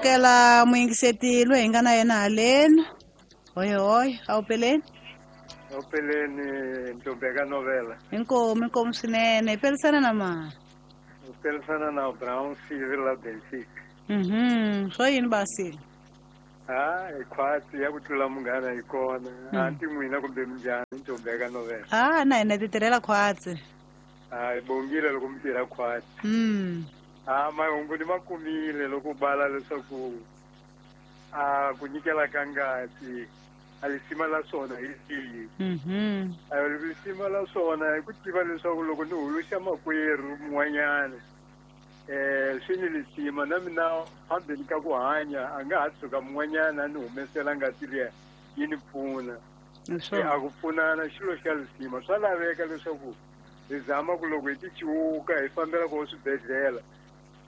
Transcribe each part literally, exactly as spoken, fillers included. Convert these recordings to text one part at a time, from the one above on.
amukela muyingiseti loyi hi nga na yena haleni. Hoy hoy, a wu peleni? A wu peleni Ntombeka Novela. Inkomu, inkomu swinene. Hi pelisana na mani? Hi pelisana na Brown Civil la Benfica. Mhm, swo yini basi? Ah, hi khwatsi ya ku tlula munghana hi kona. Anti n'wina kumbe minjhani Ntombeka Novela? Ah, na hina ti tirhela khwatsi. Ah, hi bongile loko mi tirha khwatsi. Mm. Ah, mahungu ni ma kumile loko bala leswaku a ku nyikela ka ngati a lisima la swona hi rihi. Mhm. A lisima la swona hi ku tiva leswaku loko ni huluxa makwerhu mun'wanyana eh swi ni lisima na mina phambeni ka ku hanya a nga ha tshuka mun'wanyana ni humesela ngati liya yi ni pfuna. A ku pfunana xilo xa lisima swa laveka leswaku hi zama ku loko hi ti ciwuka hi fambela kona swibedhlele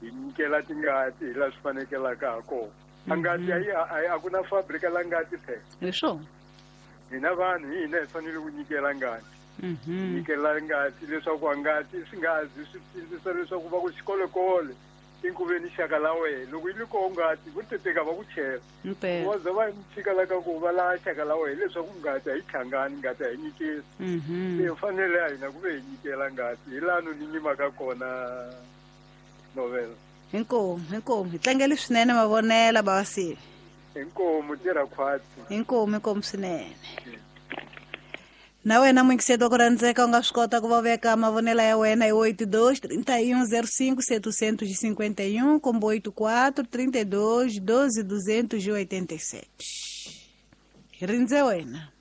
hi nyikela tingati hi laha swi fanekelaka ha kona. A ngati a a ku na fabrika la ngati phela. Hi swona. Hina vanhu hi hina hi fanele ku nyikela ngati. Mhm. Nyikela ngati leswaku a ngati swi nga zi swi sindzisa leswaku va ku xikolekole inkuveni xaka la wena loko yi ri koho ngati vo teteka va ku chela. Wa za va tshika la ka ku va la xaka la wena leswaku ngati a yi hlangani ngati a yi nyikeli. Mhm. Se fanele a hina ku ve hi nyikela ngati hi laha ni nyimaka kona Novela. Inkomu, inkomu. Hi tlangele swinene mavonela basi. Inkomu tirha khwatsi. Inkomu, inkomu swinene. Na wena muyingiseti wa ku rhandzeka u nga swi kota ku va veka mavonela ya wena hi oito dois, trinta e um, zero cinco, setecentos e cinquenta e um, combo oito quatro, trinta e dois, doze, duzentos e oitenta e sete. Hi rindze wena.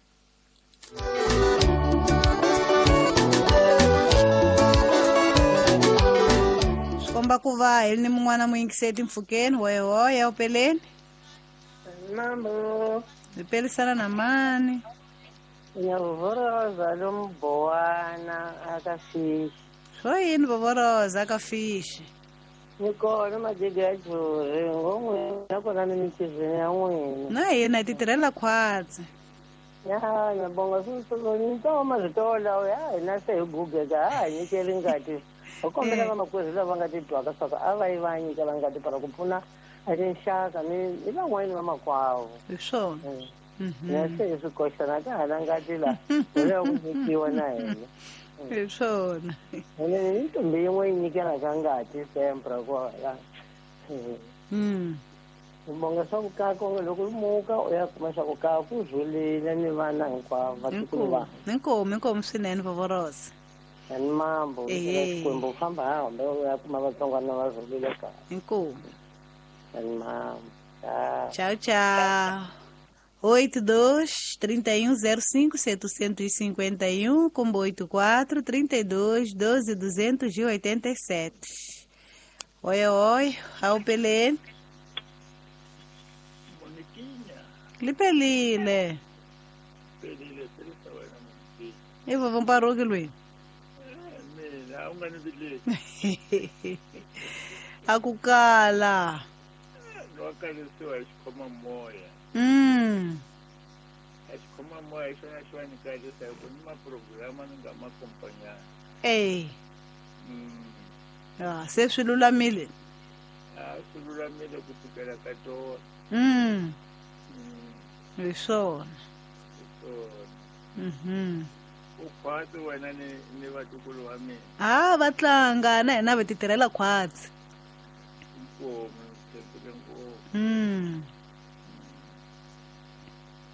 Swi komba ku va hi ni mun'wana muyingiseti mpfhukeni. Hoy hoy, a wu peleni? Mambo. Hi pelisana na mani? Ngiyavoroza lo mbowana akafishi. Swo yini vovoroza akafishi? Ni kona majege ya juri ngomwe nakona ni mitizini ya n'wina. Na hina hi ti tirhela khwatsi. Ya, ngiyabonga swinene mazitola ya hina se hi gugeka ha hi nyikeli ngati. Hi kombela vamakwerhu lava nga titwaka swa ku a va yi va nyikela ngati para ku pfuna a tinxaka ni ni van'wani va makwavo. Hi swona. Na se hi swi koxana ka ha na ngati la hi lava ku nyikiwa na hina. Hi swona. Ene i ntombi yin'we yi nyikelaka ngati sempre kwala. Mm. U bonga swa ku ka loko u muka u ya kuma swa ku ka ku rhulile ni vana hinkwavo vatukulu va. Inkomu, inkomu swinene vovorosa. Ni mambo Xikwembu u famba hambi u ya kuma vatsongwana va rhulile kahle. Inkomu. Ni mambo. Tchau, tchau. oito dois, trinta e um, zero cinco, setecentos e cinquenta e um, combo oito quatro, trinta e dois, doze, duzentos e oitenta e sete. Oi, oi, ao Pelé. Moniquinha. Lipelile. Pelile, pelile, wena Moniquinha. E vou vamos para o Luiz. Mina, u nga ni vileli. Akukala. No kalisiwa hi xikhoma moya. Mm. A xikhoma moya hi xona xi va ni kalisa hi ku ni maprograma ni nga ma kompanyana. Eh. Mm. Ah, se swi lulamile. A swi lulamile ku fikela ka tona. Mm. Mm. Hi swona. Hi swona. Mhm. U khwatsi wena ni ni vatukulu wa mina. Ah, va tlanga na hina va ti tirhela khwatsi. Inkomu, tshembile ngopfu. Mm.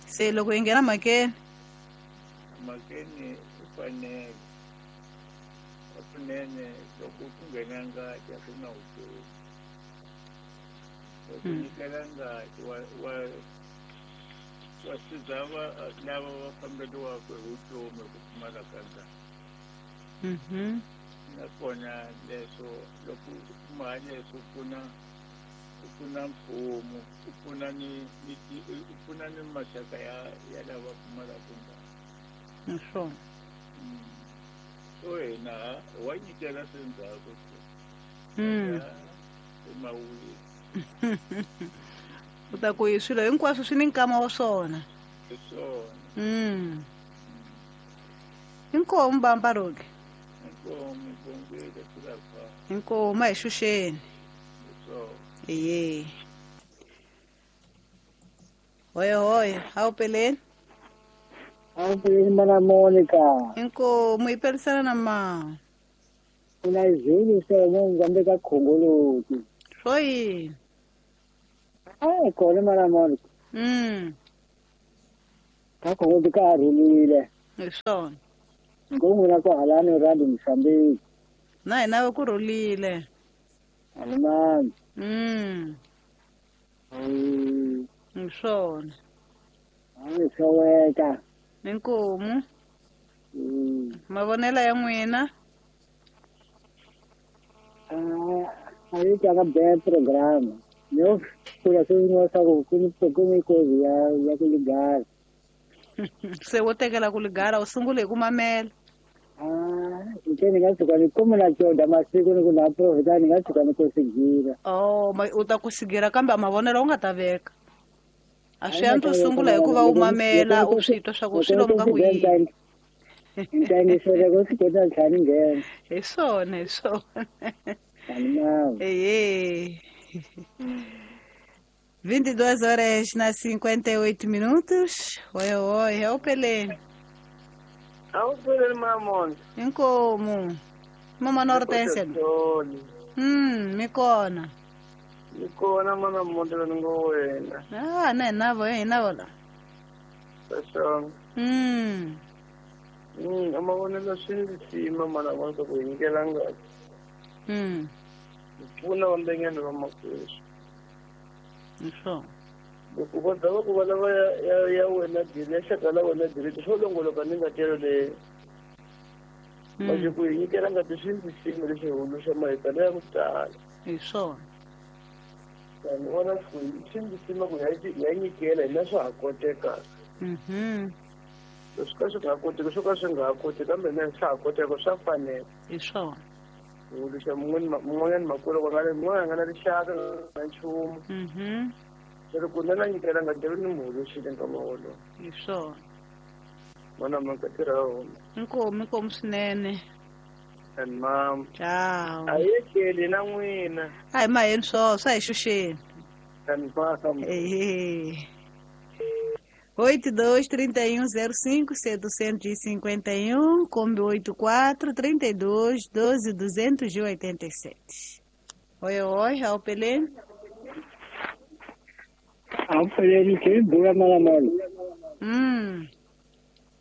Se loko hi nghena mhakeni. Mhakeni u fanele kunene loko ku nghena ngati a swi na vutomi. Loko nyikela ngati wa wa wa siza va lava va famberiwaka hi vutomi hi ku pfumala ka ngati. Mhm. Nakona leswo loko u kuma leswo pfuna u pfuna mfumo u pfuna ni ni u pfuna ni maxaka ya ya lava pfumalaka ngati. Hi swona. So hina wa nyikela swi ndzhaku. Mm. Mawini. U ta ku swilo hinkwaswo swi ni nkama wa swona. Hi swona. Mm. Inkomu Bambaroke. Inkomu bongile swi Inkomu a hi xuxeni. Hi swona. Iye. Oi, oi, a wu peleni? A wu peleni mana Monica. Inkomu yi pelisana na ma. Kuna izulu Solomon ngambe ka khongoloti. Swo yini? Ai kona mana Monica. Mm. Ka khongoloti ka rhulile. Hi swona. Ngomuna ku halani radi Mozambique. Na hina ku rhulile. Alimani. Mm. Mm. Hi swona. Ai soweka. Inkomu. Mm. Mavonelo ya n'wina? Ah, a yi tlanga bad program. Yo kula swin'wana swa ku ku ku mikozi ya ya ku ligara. Se wo tekela ku ligara u sungule hi ku mamela. Ah, nte ni nga tshuka ni kuma na coda masiku ni ku na profita ni nga tshuka ni ku sigira. Oh, ma u ta ku sigira kambe a mavonelo u nga ta veka. A swi antswa u sungula hi ku va u mamela u swi twa swa ku swi lomu ka ku yini. Ntangisele ku swi kota tlhela ni nghena. Hi swona, hi swona. Alimani. Ehe. vinte e duas horas na cinquenta e oito minutos. Oi, oi, é o Pelé. A wu peleni Mamona. Inkomu. Mama Nortense. Mm, mi kona. Mi kona mana Monta ni ngo wena. Ah, na hina vo, hina vo la. Swona. Mm. Mm, a mavonelo swi ndzi sima mana Monta ku hi nyikela ngati. Mm. Pfuna vambenyana va makwerhu. Hi swona. Loko va za va ku va lava ya ya ya wena diri ya xaka la wena diri swo longoloka ni ngati yoleyo. Manje ku hi nyikela ngati swi ndzi sima lexi huluxa mahitana ya ku tala. Hi swona. Ni vona ku swi ndzi sima ku hi ya nyikela hina swa ha koteka. Mhm. Leswi ka swi nga koteki swo ka swi nga ha koteki kambe na swa ha koteka swa fanela. Hi swona. Huluxa mun'wana mun'wanyana makwerhu va nga ri mun'wana a nga na rixaka na nchumu. Mhm. Se loko na na nyikela ngati ni mu huluxile nkama wolowo. Hi swona. Mana mhaka tirha hona. Inkomu, inkomu swinene. And mam. Ciao. A yi tlheli na n'wina. A hi maheni swona, swa hi xuxeni. And mama. Ehe. oito dois, trinta e um, zero cinco, setecentos e cinquenta e um, Kombi oito quatro, trinta e dois, doze, duzentos e oitenta e sete. Oi, oi, ao Pelé. A wu peleni ke bula mana Monica. Mm.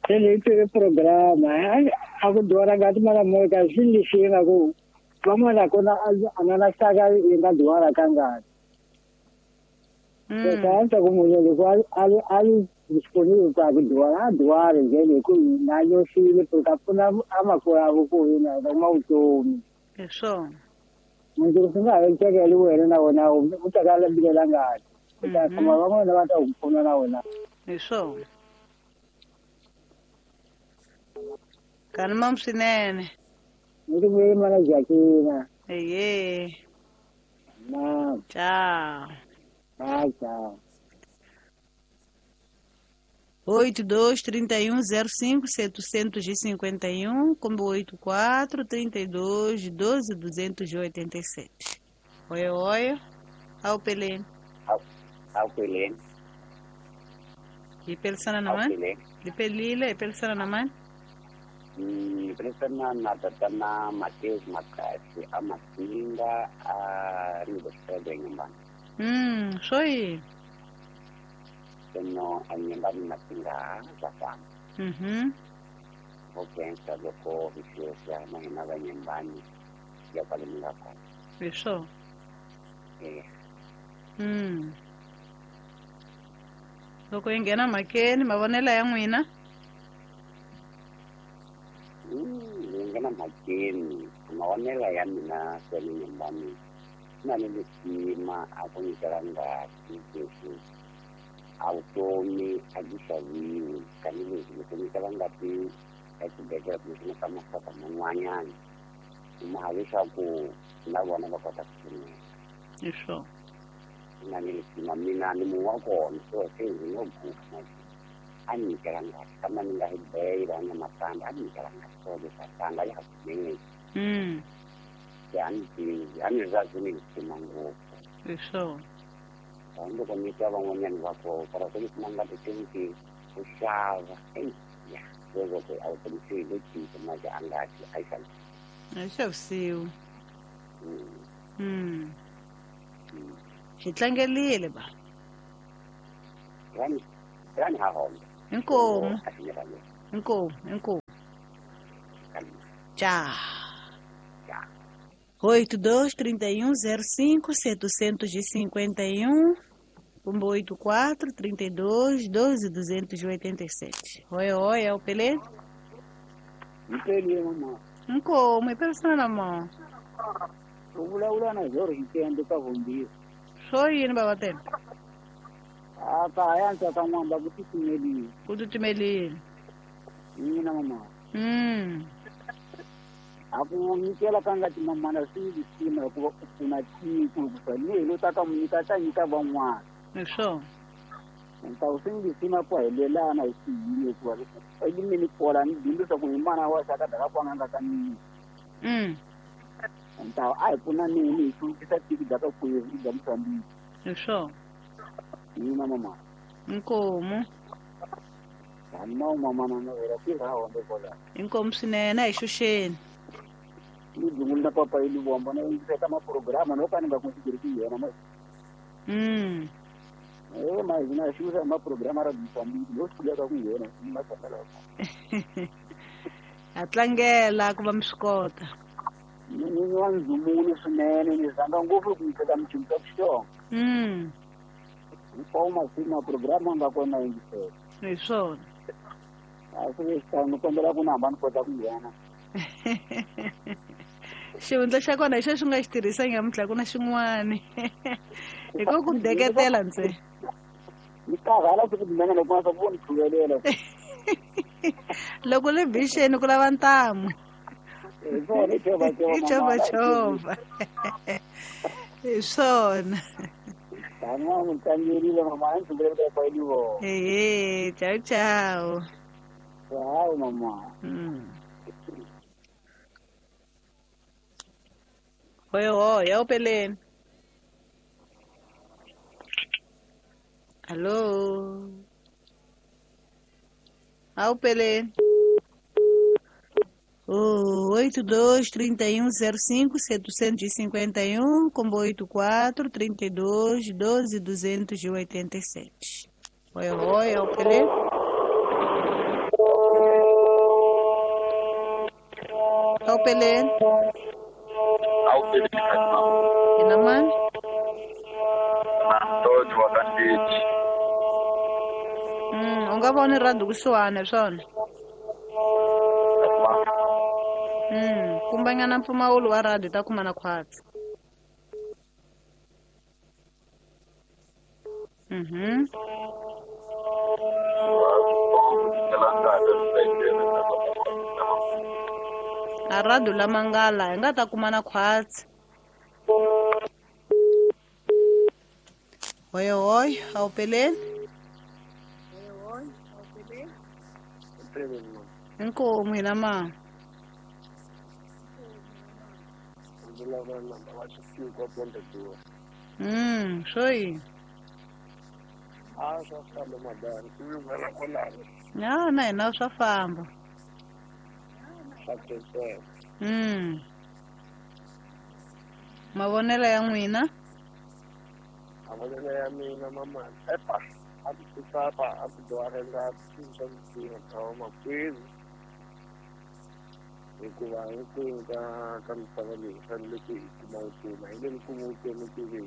Se ni twe programa a ku dora ngati mana Monica swi ndzi sima ku van'wana kona a nga na xaka yi nga dora ka ngati. Mm. Sasa ku munhu loko a a ri disponible ku a ku dora a dora njhani hi ku na nyoxile ku ta pfuna amakwerhu ku hina hi kuma vutomi. Hi swona. Munhu swi nga ha tekeli wena na wena u ta ka lambilela ngati. U ta kuma van'wana va ta ku pfuna na wena. Hi swona. Kani mam swinene. Ni ku vuyeli mana Jacqueline. Ehe. Ma. Tchau. Tchau, tchau. oito dois, trinta e um, zero cinco, setecentos e cinquenta e um, combo oito quatro, trinta e dois, doze, duzentos e oitenta e sete. Oi, oi. Ao Pelé. Ao Pelé. E pelisana na mãe? E pelile, e pelisana na mãe? Ni pelisana na tatana Mateus Makasi, a Matinga, a Rio dos Pedro nyumbani. Mm, soi. Sono a nyumbani Matinga za fana. Mhm. Vokensa loko vifiosa na hina va nyumbani ya pale mlako. Isso. Eh. Mm. Loko yi nghena mhakeni mavonelo ya n'wina? Mm, yi nghena mhakeni mavonelo ya mina kwale nyumbani na ni lisima a ku nyikela ngati leswi a vutomi a byi xaviwi tanihileswi loko nyikela ngati exibedhlele kumbexana ka maxaka man'wanyana kuma leswaku na vona va kota ku pfuneka. Hi swona. Na ni lisima mina ni munhu wa kona so se ndzi ngo guga a ni nyikela ngati kambe ni nga hi beyila na matandza a ni nyikela ngati so leswi a tanga ya ha pfumeleki. Mm. Se a ni tivi a ni ri ni lisima ngopfu. Hi swona. Loko ni twa van'wanyana va ko para ku kuma ngati twenty ku xava ya sweswo ku a wu tshemisi le cinca mali a ngati a yi xavisiwi a yi xavisiwi mm hi tlangelile ba rani rani ha hona inkomu inkomu inkomu tchau. Oito dois trinta e um zero cinco setecentos e cinquenta e um oito quatro trinta e dois doze duzentos e oitenta e sete. Oi, oi, é o Pelé? Mpele mama. Nkomo, ipela na mão. Uvula na zoro intendo ka vumbiri. Só yini baba tena? Ah, ka yanza ka mwamba kutitimeli. Kutitimeli. Mina mama. Mm. Aku nyikela ka ngati mamana swi lisima hikuva u pfuna tiko hikuva ni lo ta ka munyika ta nyika van'wana. Hi swona. Ntawu swi lisima ku helelana hi xiyimo hikuva elimini kola ni bindzu ku hi mana wa xaka daka kwanga nga ka mina. Mm. Ntawu a hi pfuna nini hi hluvukisa tiko bya ka kwihi bya Mozambique. Hi swona. Mina mama. Inkomu. Tani mama na vera tirha honde kola. Inkomu swinene a hi xuxeni. Ni dungula papa ili bomba na yingiseka maprograma no ka ni nga consideri yena ma. Mm. Eh ma hina xuxa maprograma ra Mozambique lo swi ka ku yena ni masala. A tlangela ku va mi swi kota. Ni ni wa ndzumulo swinene ni zanga ngopfu ku yiseka mchimba xixonga. Mm. Hinkwawo masiku maprograma nga kona yingiseka. Hi swona. A swi xitano kombela ku na hamba ni kota ku nghena. Xihundla xa kona hi xo xi nga xi tirhisa nyamuntlha ku na xin'wani. Hi ko ku deketela ntse. Ni karhala siku tinene loko ma swa ni pfumelela. Loko le bixeni ku lava ntamu. Hi swona i chovha I chovha chovha. Hi swona. Tani ma n'wi tlangerile mama a ndzi pfumelela ku ya vona. Ehe, ciao ciao. Ciao mama. Mm. Oi, oi, é o Pelé. Alô? Ah, o Pelé. oito dois trinta e um zero cinco setecentos e cinquenta e um, combo oito quatro trinta e dois doze duzentos e oitenta e sete. Oi, oi, é o Pelé. É o Pelé. Ina Antônio Wakanditi. Mm, u nga voni rhandu kusuhani swona. Mm, kumbanyana mpfumawulo wa radio ta kuma na khwatsi. Mhm. A radio la mangala hi nga ta kuma na khwatsi. Oi, oi, ao Pelé. Oi, oi, ao Pelé. Inkomu hina ma. Mm, soi. Ah, swa famba madani, ku yungana kwalano. Ya, na hina swa famba. Swa khenseka. Mm. Mavonelo ya n'wina? Mavonelo ya mina mama, epa, a ku tisapa, a ku dwara ngati, swa misinya thawa makwenu. Hikuva hinkwenu ka ka misava leyi hi fanele ku hi kuma vutomi, hi nge ni kumi vutomi ku ve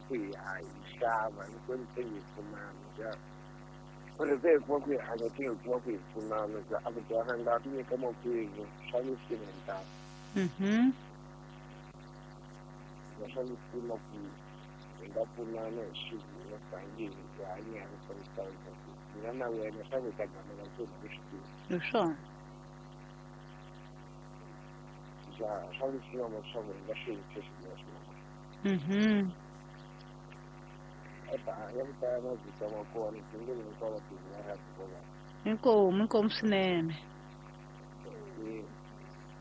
ku hi hi xava, hinkwenu se hi pfunana ja. Ku ri se hi kuma ku hi hanya se hi kuma ku hi pfunana ja, a ku dwara ngati nyika makwenu swa misinya ntalo. Mhm. Swa misinya ku hi nga pfunana hi xivula tanihi hi hanyaka swa misava mina na wena swa ku hi ta gamela ku hi swi tivi. Hi swona. Ja, swa misinya leswaku hi nga swi yisa swinene swinene. Mhm. Epa, ya ku tala mavito ma kona tindlela hinkwato ti nga ra kona. Inkomu, inkomu swinene.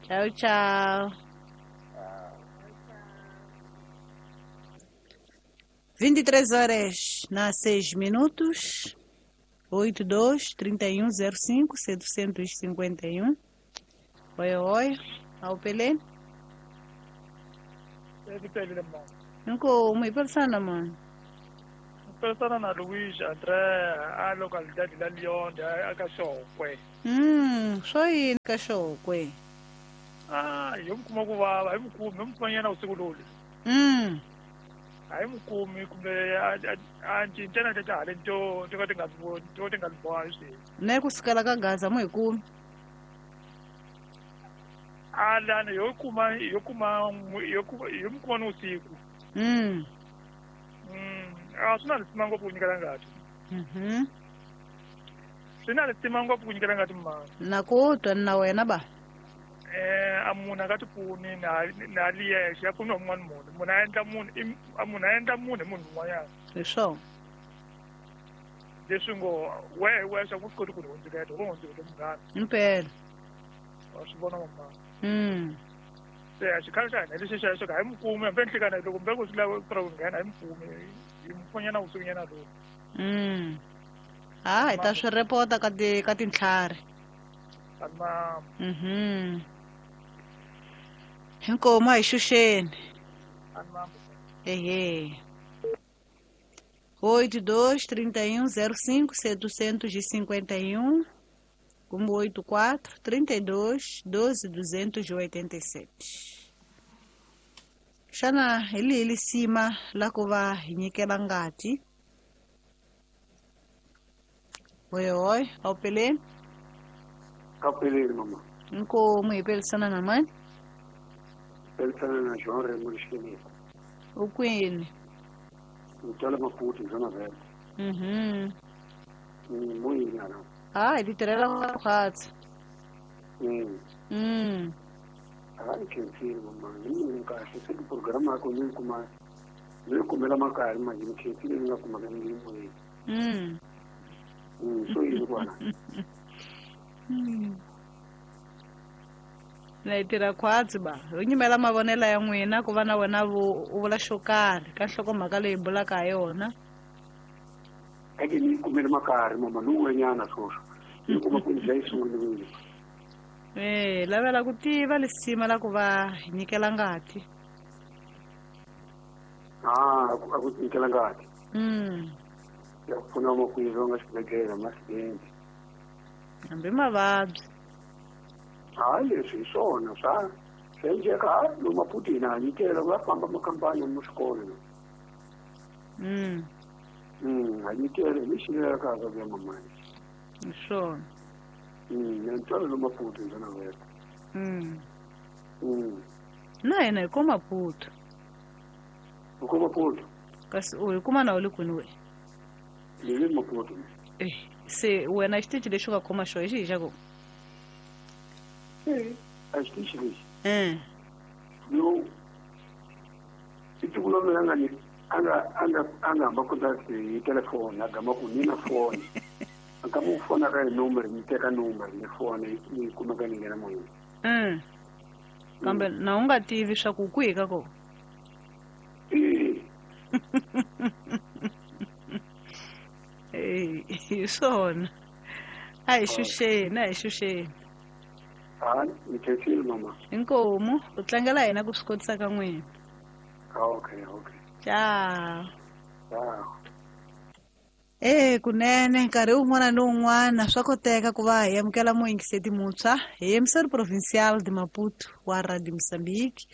Ciao ciao. vinte e três horas na seis minutos. oito dois, trinta e um, zero cinco, setecentos e cinquenta e um. Oi, oi. Ao Pelé. Nko, me persana mano. Persana na Luiz André, a localidade da Leão, a Cachorro. Hum, só aí, Cachorro. Ah, eu me como eu me como, eu me ponho na seguro. Hum. Aí me como, como a gente tem que estar dentro, tem que ter tem que ter Né com escala com gás, amor, como. Ah, lá, eu como, eu como, eu como, eu me como no ciclo. Hum. Hum, ah, sina lisimanga kunyikela ngati. Mhm. Sina lisimanga kunyikela ngati mma. Nakutwa na wena ba. Eh, amuna kati puni na na liye ya puni omwana munhu. Muna endla munhu, amuna endla munhu munhu un'wanyana. Leswo. Leswi ngo we we swa ku koti ku hundziketa, ku hundziketa munghana. Impela. Wa swi vona mama. Mm. Se a xikhala xa hina lexi xa xo ka hi mukumi hambi nhlikana loko mbeko swi lava ku nghena hi mukumi hi mupfonyana vusikunyana lowu. Mm. Ah, hi ta swi repota ka ti ka tintlhari. Ama. Mhm. Inkomo a hi xuxeni. Ama. Ehe. oito dois, trinta e um, zero cinco, setecentos e cinquenta e um. Como oito quatro, trinta e dois, doze, duzentos e oitenta e sete. Xana hi lihi lisima la ku va hi nyikela ngati? Oi, oi, ao Pelé. Ao Pelé, mamãe. Nkomo hi pelisana na mãe? Pelisana na João Raimundo Esqueleto. O kwini? Ntola Maputo, Zona Verde. Uhum. Muito não. Ah, ele tirela quatro. Hum. Hum. Ah, que filho, mamãe. Nunca achei que o programa comigo como eu comer a macarra, mas não que filho não como ninguém. Hum. Hum, sou eu agora. Hum. Na tira quatro ba. U nyimela mavonelo ya n'wina ku va na wena u vula xo karhi ka nhlokomhaka leyi bulaka ha yona. Ake ni kumele makari mama nuwenyana swoswo ni kuma ku ndla isungulile. Eh, lavela ku tiva lisima la ku va hi nyikela ngati. Ah, a ku nyikela ngati. Mm. Ya pfuna makwerhu nga xibedhlele masidenti. Hambi mavabyi. Hayi leswi hi swona swa swi endleka hayi lomu Maputo hina ha nyikela va famba makampani mu swikolo. Mm. Mm, a nyikela hi lexi lavekaka ku ya mamani. Hi swona. Mm, na ntwalo lomu Maputo hi Zona Verde. Mm. Mm. Na hina hi ko Maputo. U ko Maputo? Kasi u hi kuma na u le kwini we? Ni le Maputo. Eh, se wena xitichi lexi u nga khoma xona hi xihi xa kona? Eh, a xitichi lexi. Eh. Yo i siku lomu nga ni anga anga anga hamba contact hi telefoni a gama ku ni na foni. A ka mu fona ka hi number ni teka number ni fona ni kumeka ni nghena moyeni. Mm. Kambe na u nga tivi swa ku kwihi ka kona? Eh. Eh, hi swona. A hi xuxeni, a hi xuxeni. Ah, ni khensile mama. Inkomu, u tlangela hina ku swi kotisa ka n'wina. Ah, okay, okay. Ciao. Ciao. Eh, kunene nkarhi wun'wana ni wun'wana swa koteka ku va hi amukela muyingiseti muntshwa hi emissor provincial de Maputo wa Radio Mozambique.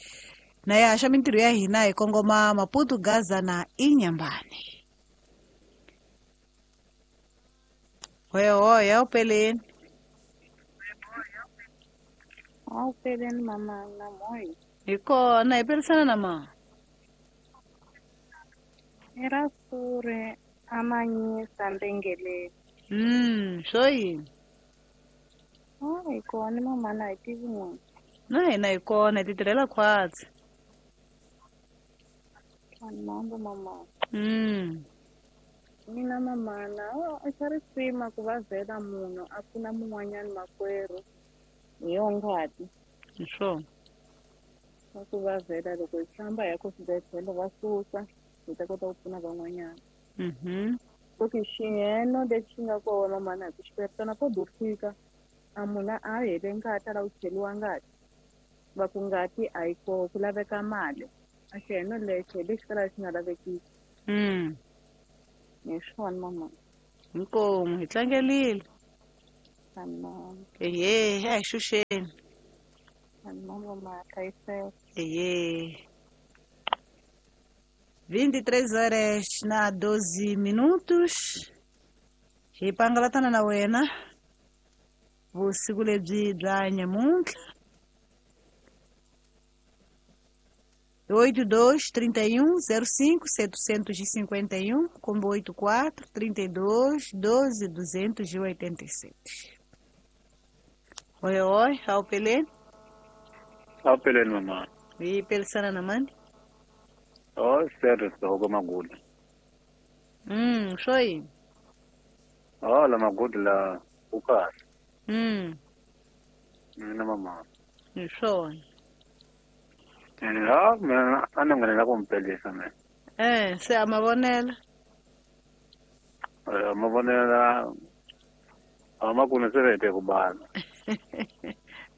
Na ya haxa mintirho ya hina hi kongoma Maputo, Gaza na Inhambane. Oi, oi, ao Pelé. Ao Pelé, mama, na mãe. Hi kona, hi pelisana na ma. Era sure amanyisa mbengeleni. Mm, swo yini? Ah, hi kona mama na hi tivi n'wina. Na hina hi kona, hi ti tirhela khwatsi. Mambo mama. Mm. Mina mama na o xa risima ku va vhela munhu a pfuna mun'wanyana makwerhu hi yo ngati. Hi swona. Swa ku va vhela loko hi famba hi ya ku swibedhlele va susa hi ta kota ku pfuna van'wanyana. Mhm. Ku xiyeno lexi nga kona mana hi ku xiperitana ko do fika a munhu a hele ngati a lava ku cheliwa ngati va ku ngati a yi koho ku laveka mali a xiyeno lexo hi lexi kalaka xi nga lavekiki. Mm. Hi swona mama. Inkomu hi tlangelile. Ehe, a hi xuxeni. Mama hlayiseka. Ehe. vinte e três horas na doze minutos. Hi pangalatana na wena vusiku lebyi bya nyamuntlha. oito dois, trinta e um, zero cinco, setecentos e cinquenta e um, combo oito quatro, trinta e dois, doze, duzentos e oitenta e sete. Oi, oi, ao Pelé. Ao Pelé, mamãe. E Pelsana na mãe? Oh, sério, estou com uma guda. Hum, foi. Oh, la maguda la ukas. Hum. Mina mamãe. Foi. Ah, mina a ni nghenela ku mi pelisa mina. Eh, se a mavonela. Eh, mavonela a ma ku ni se vete ku bala.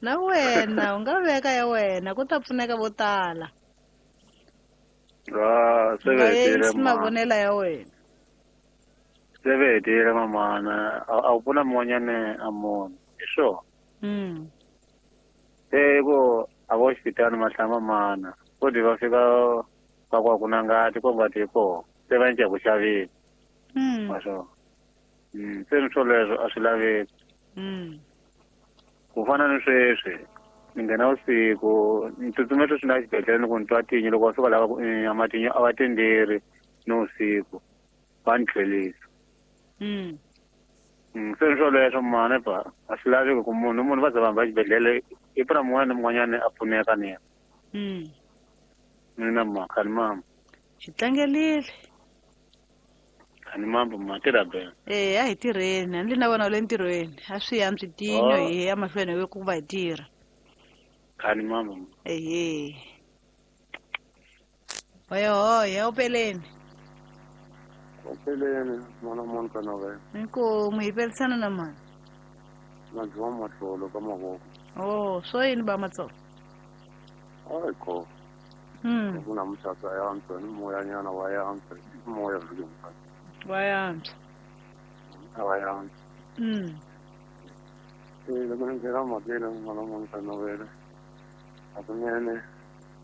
Na wena u nga veka ya wena ku ta pfuneka vo tala. Ah, se vetile mavonela ya wena. Se vetile mamana, a wu pfuna mun'wanyana a munhu. Hi swona. Mm. Se ku a vo xipitani mahlamba mana ko di va fika va ku a ku na ngati ko ngati yi kona se va cinca ku xaveni. Mm. Wa swona. Mm, se ni swoleswo a swi laveki. Mm. Ku fana ni sweswi ni nghena vusiku ni tsutsuma sweswi na xibedhlele ni ku ni twa tinyo loko va fika lava ku a matinyo a va tenderi ni vusiku va ni tlhelisa. Mm. Mm, se ni swoleswo mhani ba a swi laveki ku munhu munhu va za va hamba xibedhlele i pfuna mun'wana na mun'wanyana a pfuneka ni yena. Mm. Mina ma khani mama. Xi tlangelile. Khani mama ma tirha bene. Eh, a hi tirheni, a ni na vona le ntirhweni. A swi ya tinyo hi ya mahlweni hi ku va hi tirha. Khani mama. Ehe. Hoyo hoyo, upeleni. Upeleni, mwana mwana kana we. Inkomu hi pelisana na mani. Na jwa matlolo ka mavoko. Oh, swo yini ba matsolo? Hayi ko. Mm. Kuna muthatha yantswa ni moyanyana wa yantswa, moya vile muthatha. Wa yantswa. Wa yantswa. Mm. Eh, loko ni nghena mhakeni mwana mwana kana wena. Hakunene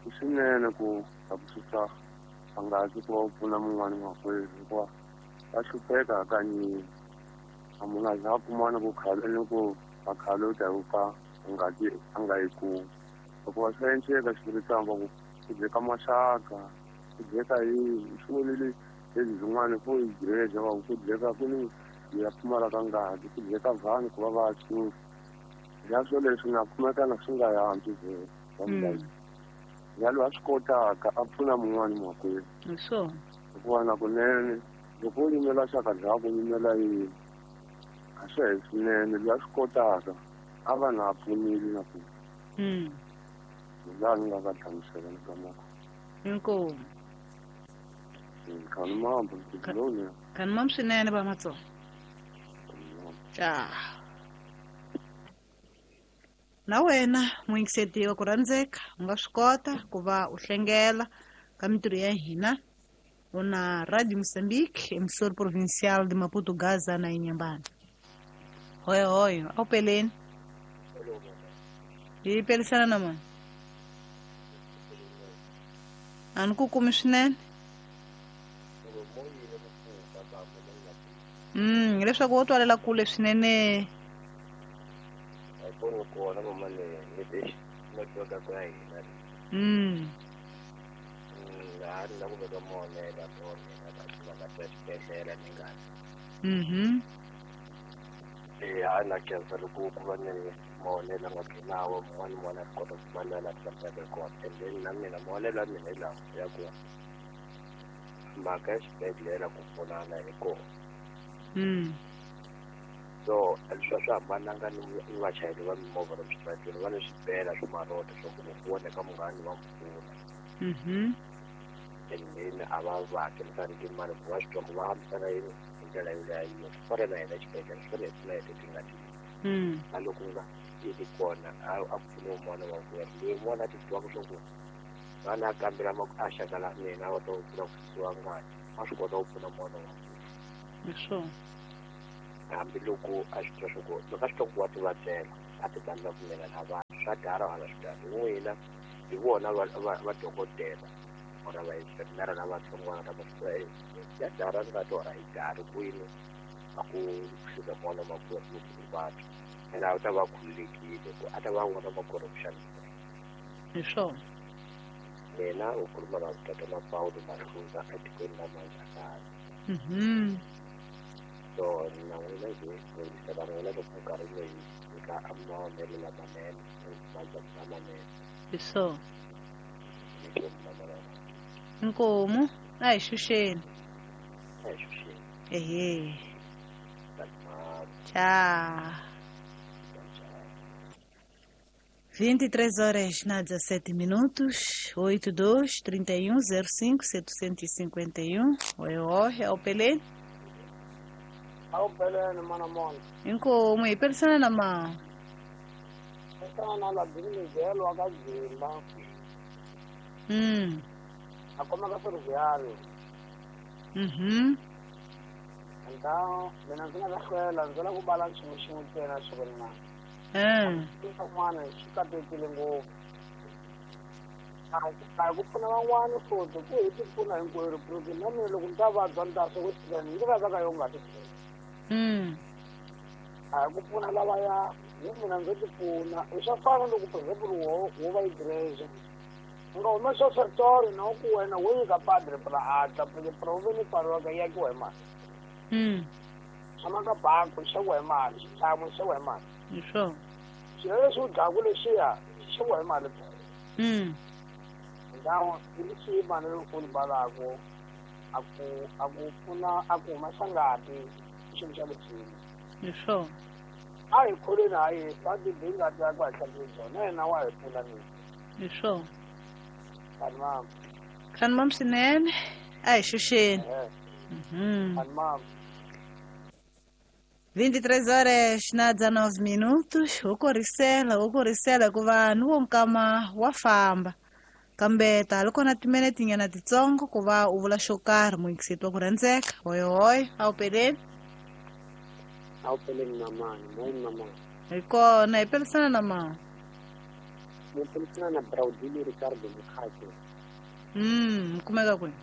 i swinene ku ta ku susa ngati ku va u pfuna mun'wana makwerhu hikuva va hlupheka hakanyingi. A munhu a za a kumana ku khale ni ku a khale u ta ku ka ngati a nga yi kumi. Hikuva swa endleka xivurisambo ku ku dyeka maxaka, ku dyeka yini, swi vonile leswi byin'wana fo hi direja va ku dyeka ku ni ya pfumalaka ngati, ku dyeka vanhu ku va va susa. Ya swo leswi nga kumekana swi nga yantswi vhele. Ya loyi a swi kotaka a pfuna mun'wana makwerhu. Hi swona. Hikuva na kunene loko u yimela xaka bya ku yimela yini a swi hi swinene loyi a swi kotaka a va na pfunile na ku. Mm. Laha ni nga ka hlamusela ni ka moko. Inkomu. Khani mambo ndiloni. Khani mambo swinene ba matsongo. Cha. Na wena muyingiseti wa ku rhandzeka u nga swi kota ku va u hlengela ka mintirho ya hina u na Radio Moçambique, emissora provincial de Maputo, Gaza na Inhambane. Hoyo hoyo, ao peleni. Hi pelisana na mani. A ni ku kumi swinene. Mm, leswaku wo twalela kule swinene. Mm. Mhm. Eh, ana khensa loko ku va ni mavonelo nga nawo mun'wana mun'wana a kota ku va la hlamuselaka kona and then na mina mavonelo ya mina hi lawa ya ku mhaka ya xibedhlele ku pfunana hi kona. Mm. So leswi a swi hambananga ni ni vachayeri va mimovha lomu switarateni va ni swibela swa marota swa ku loko ku voneka munghana va mi pfuna. Mhm. And then a va va hakerisani timali ku va swi twa ku va hambisana yini hi ndlela yoleyo swi fana na hina xibedhlele swi fanele hi pfuna hi leti nga na loko nga yi ri kona a a pfuniwa un'wana wa ku loyi un'wana a ti twaka swa ku vana a kambela a xaka la mina va ta ku pfuna ku susiwa ngati a swi kota ku pfuna n'wana wa hi swona hambiloko a swi twa swa ku loko a swi twa ku wa ti vabyela a ti kandza pfumela na vanhu swa dara hala swi dara n'wina hi vona va va va dokodela ora va infirmera lavatsongwana lava swi ya dara ngati ora yi dari kwini a ku fika n'wana makwerhu loko u vabya ene a wu ta va khululekile ku a ta va n'wana makwerhu ku xanisa hi swona mina u khuluma na tatana Paulo Mahluza etikweni la Manzakala. Mhm. So na n'wina hi yingisela n'wina loko minkarhi leyi nyika mavonelo lamanene madyambu lamanene. Hi swona. Inkomu a hi xuxeni. A hi xuxeni. Ehe. Tchau. vinte e três horas na dezessete minutos, oito dois, trinta e um, zero cinco, setecentos e cinquenta e um. Oi, oi, é o Pelé? É o Pelé, mano, mano. Inkomu, e persona na mão? Persona na Miguel, o Agazimba. Hum. A como é que ferroviário? Uhum. Então, mina ndzi nga ta hlwela ndzi lava ku bala nchumu xin'we ntsena siku na. Mm. Swin'wana swi katekile ngopfu. A hi ku pfuna van'wana futhi ku hi ti pfuna hinkwerhu porque na mina loko ni ta vabya ni ta swi ku tshikani ndzi vabya ka yo ngati. Mm. A hi ku pfuna lavaya hi mina ndzo ti pfuna i swa fana loko for example wo wo va yi direja u nga humesa switori na ku wena wo nyika padre pra atla porque proveni pfariwaka yi akiwa hi mali. Mm. Tshama ka banku xaviwa hi mali xitlhangu xaviwa hi mali. Hi swona. Swilo leswi u dlaku lexiya xi xaviwa hi mali phela. Mm. Ndhawu i leswi mali loko u balaku a ku a ku pfuna a ku humesa ngati i xilo xa leswini. Hi swona. A hi kholweni ha Yesu a ti bi ngati ya ku hi hlantswile byona yena wa hi pfuna mina. Hi swona. Kani mama. Kani mama swinene a hi xuxeni. Mhm. Kani mama. vinte e três horas na dezenove minutos, wo korisela wo korisela hikuva ni wo nkama wa famba kambe ta loko na timinete nyana titsongo ku va u vula xo karhi muyingiseti wa ku rhandzeka hoyohoyo a wu peleni a wu peleni mamani moyeni mamani hi kona hi pelisana na mama ni pelisana na Braudili Ricardo Mukhache. Mm, mi kumeka kwini?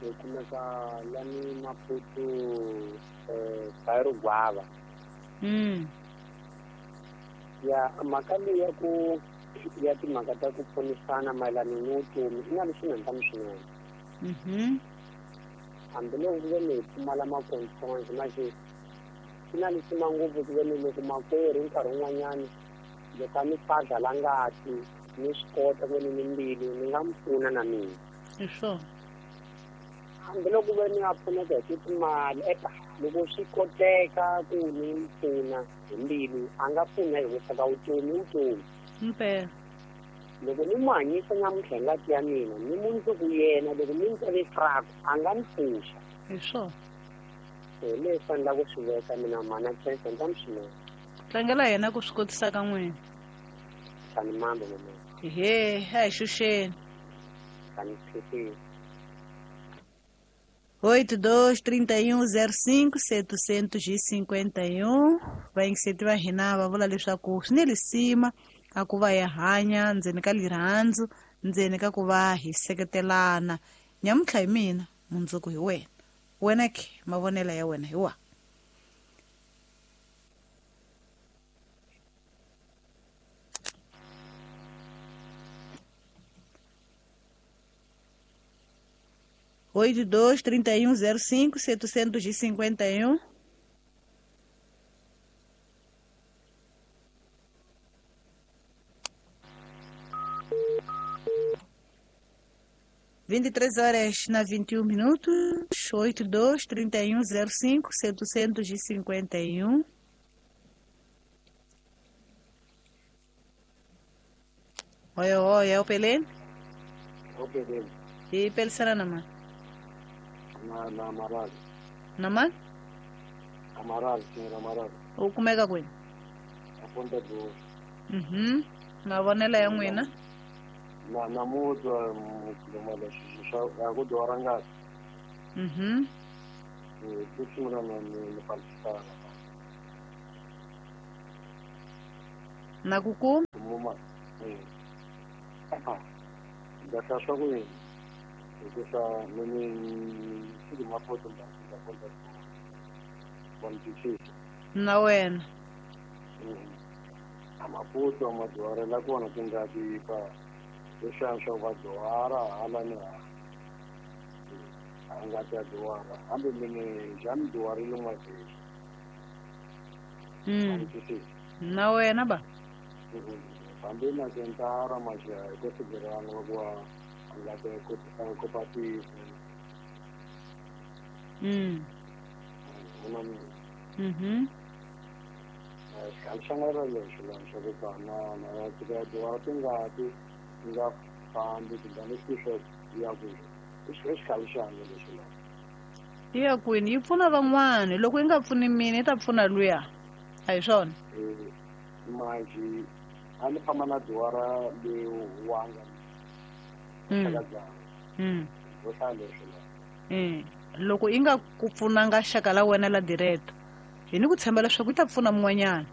Hi kumeka lani Maputo eh Bairro Guava. Mm. Ya mhaka leyi ya ku ya timhaka ta ku pfunisana mayelana ni vutomi i na leswi nga swinene. Mhm. Hambiloko ku ve ni hi pfumala makonfrance manje swi na lisima ngopfu ku ve ni loko makwerhu nkarhi wun'wanyani loko a ni fadla la ngati ni swi kota ku ve ni ni mbilu ni nga mi pfuna na mina. Hi swona. Hambiloko ve ni nga pfuneka hi timali eka loko swi koteka ku ni mi pfuna hi mbilu a nga pfuna hi vusaka vutomi vutomi. Mpela. Loko ni mu hanyisa namuntlha hi ngati ya mina ni mundzuku yena loko ni ntseve fraku a nga ni pfuxa. Hi swona. Hi leswi a ni lava ku swi veka mina mhana chance ni ta mi swinene. Tlangela yena ku swi kotisa ka n'wina. Kani mambe mama. Ehe, a hi xuxeni. Kani phepheni. oito dois, trinta e um, zero cinco, setecentos e cinquenta e um. Vayingiseti va hina va vula leswaku swi ni lisima a ku va hi hanya ndzeni ka lirhandzu ndzeni ka ku va hi seketelana. Nyamuntlha hi mina mundzuku hi wena. Wena ke mavonelo ya wena hi wa. oito dois, trinta e um, zero cinco, setecentos e cinquenta e um. vinte e três horas na vinte e um minutos, oito dois, trinta e um, zero cinco, setecentos e cinquenta e um. Oi, oi, é o Pelé? É o Pelé. Hi pelisana na mani? Na na Amaral. Na mani? Amaral, senhor Amaral. U kumeka kwini? A Ponta do. Mhm. Mavonelo ya n'wina? Na na mutwa mukhuluma leswi swa ku dora ngati. Mhm. Eh, ku sungula na ni Palestine. Na ku kuma? Muma. Eh. Ah. Ndza swa ku yini? Hikusa ni ni mapoto nda Ponta do. Wa Na wena. A Maputo a madyuhari kona tingati pa leswiya swa vadyuhara hala ni hala a ngati ya dyuhara hambi mine xa ni dyuharile n'wavheli. Mm. Na wena ba? Hambi na sentara maxa hi ku sigirana va ku a ngati ya kopatisa. Mm. Vona mina. Mhm. Xikhale xa nga lexo la swa ku tsanana ya dyuhara tingati ti nga fambi tingani swi ya ku i xikhale xanga lexo la. Yi ya kwini? Yi pfuna van'wani. Loko yi nga pfuni mina yi ta pfuna luya. A hi swona? Manjhe a ni famba na dyuhara leyi wanga xaka byanga. Mm. Vo hlaya lexo la. Mm. Loko yi nga ku pfunanga xaka la wena la direct, hi ni ku tshemba leswaku yi ta pfuna mun'wanyana.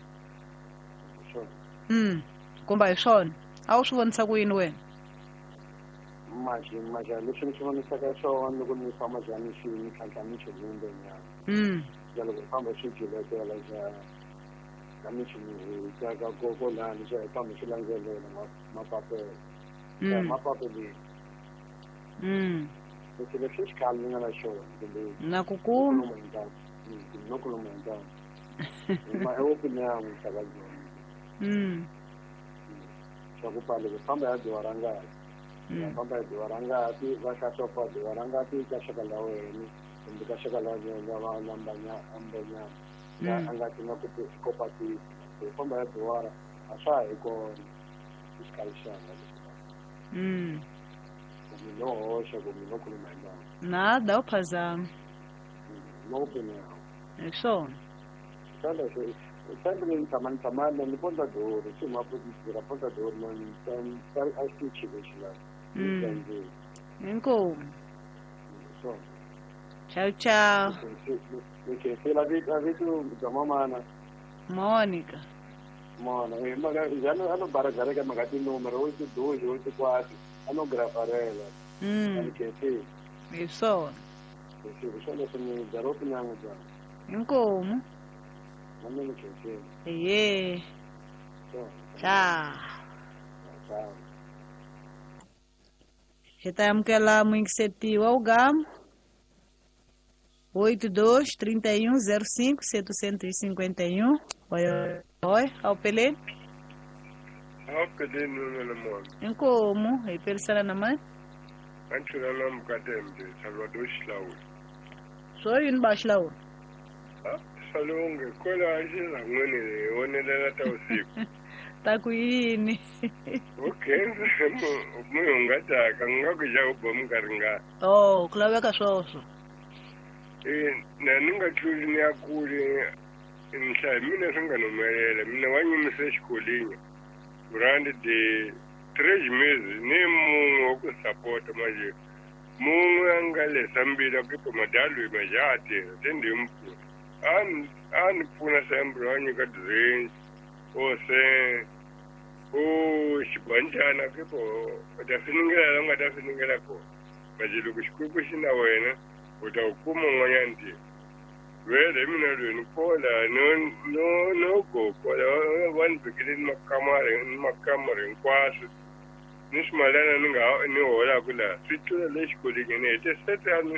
Mm. Kumbe hi swona? A wu swi vonisa ku yini wena? Manjhe manjhe leswi ni swi vonisaka swona loko ni famba njhani swi ni tlhantlha michini nyana. Mm. Ja loko hi famba swi jiletela xa ka michini hi teka koko lani xa hi famba swi landzelela mapapelo. Mm. Mapapelo. Mm. Leswi leswi xikhale ni nga na xona kumbe na ku kuma no khuluma hi ntanga. Ma i opinion xaka byona. Mm. Swa ku pfa loko famba ya dyuhara ngati. Ya famba ya dyuhara ngati va hlaya swa ku dyuhara ngati ka xaka la wena kumbe ka xaka la wena va lambanya ambanyana. A ngati nga ku kopatisa. Ku famba ya dyuhara a swa ha hi kona xikhale xanga lexi. Mm. Kumbe no hoxa kumbe no khuluma hi ntanga. Nada, u phazama. No opinion. Hi swona. Xana leswi xana ni tshama ni tshama ni Ponta do swi Maputo tirha Ponta do no ni a xitichi lexi la. Mm. Inkomu. Swona. Ciao ciao. Okay, se la vito vito bya mamana. Monica. Mona, eh maka jana ano baragareka maka tinumero oito dois oito quatro ano grafarela. Mm. Okay. Hi swona. Leswi swo leswi ni garopi nyanga bya. Inkomu. Na mina khensile. Ehe. Ciao. Ciao. Hi ta amukela muyingiseti wa Ugama. oito dois trinta e um zero cinco setecentos e cinquenta e um. Oi, oi, ao Pelé. Ao Pelé no mona. Inkomu, hi pelisana na mani? Anchula na mkatembe Salvador Xihlawula. Swo yini ba Xihlawula? Ah, Salunge kwela xilangwini hi vonelela ta usiku. Ta ku yini? Okay, munhu nga taka nga ku xa ku ba minkarhi nga. Oh, ku laveka swoswo. Eh, na ni nga tluli ni ya kule nhlaya mina swi nga ni humelela mina wa nyimise xikolini brand de três meses ni munhu wa ku sapota manje munhu a nga lesa mbilu ku pa madalo ma ja tirha te ndi mu pfuna a ni a ni pfuna sempre wa nyika duzensi o se o xibanjana ke po u ta finingela la u nga ta finingela kona manje loko Xikwembu xi na wena u ta wu kuma un'wanyana ntirho vele mina loyi ni kola no no no go kola va ni vekele ni makamara ni makamara hinkwaswo ni swimalana ni nga ni holaka laha swi tlula le xikolweni ni hete sete ya ni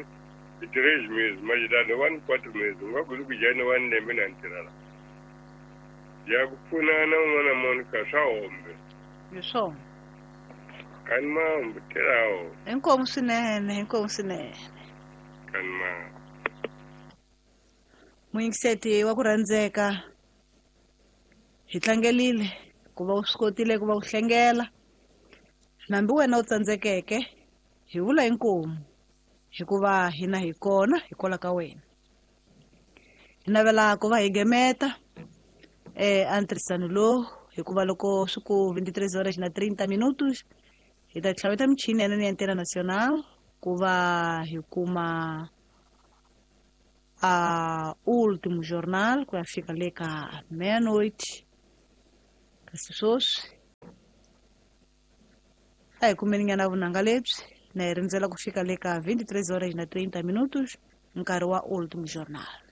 hi três meses manje lani va ni quatro meses u nga ku ku jani va ni lembe na ni tirha la ya ku pfunana un'wana Monica swa hombe. Hi swona. Kani mambo tirhawo. Inkomu swinene, inkomu swinene. Kani mambo. Muyingiseti wa ku rhandzeka hi tlangelile ku va u swi kotile ku va u hlengela nambi wena u tsandzekeke Hi vula inkomu hikuva hina hi kona hikwalaho ka wena. Hi navela ku va hi gemeta eh antirhisano lowu hikuva loko swi ku veintitrés horas na treinta minutos hi ta tlhaveta michini ya ya Antena Nacional ku va hi kuma a último jornal ku ya fika le ka meia-noite. Kasi sweswi a hi kumeni nyana vunanga lebyi na hi rindzela ku fika le ka veintitrés horas na treinta minutos nkarhi wa último jornal.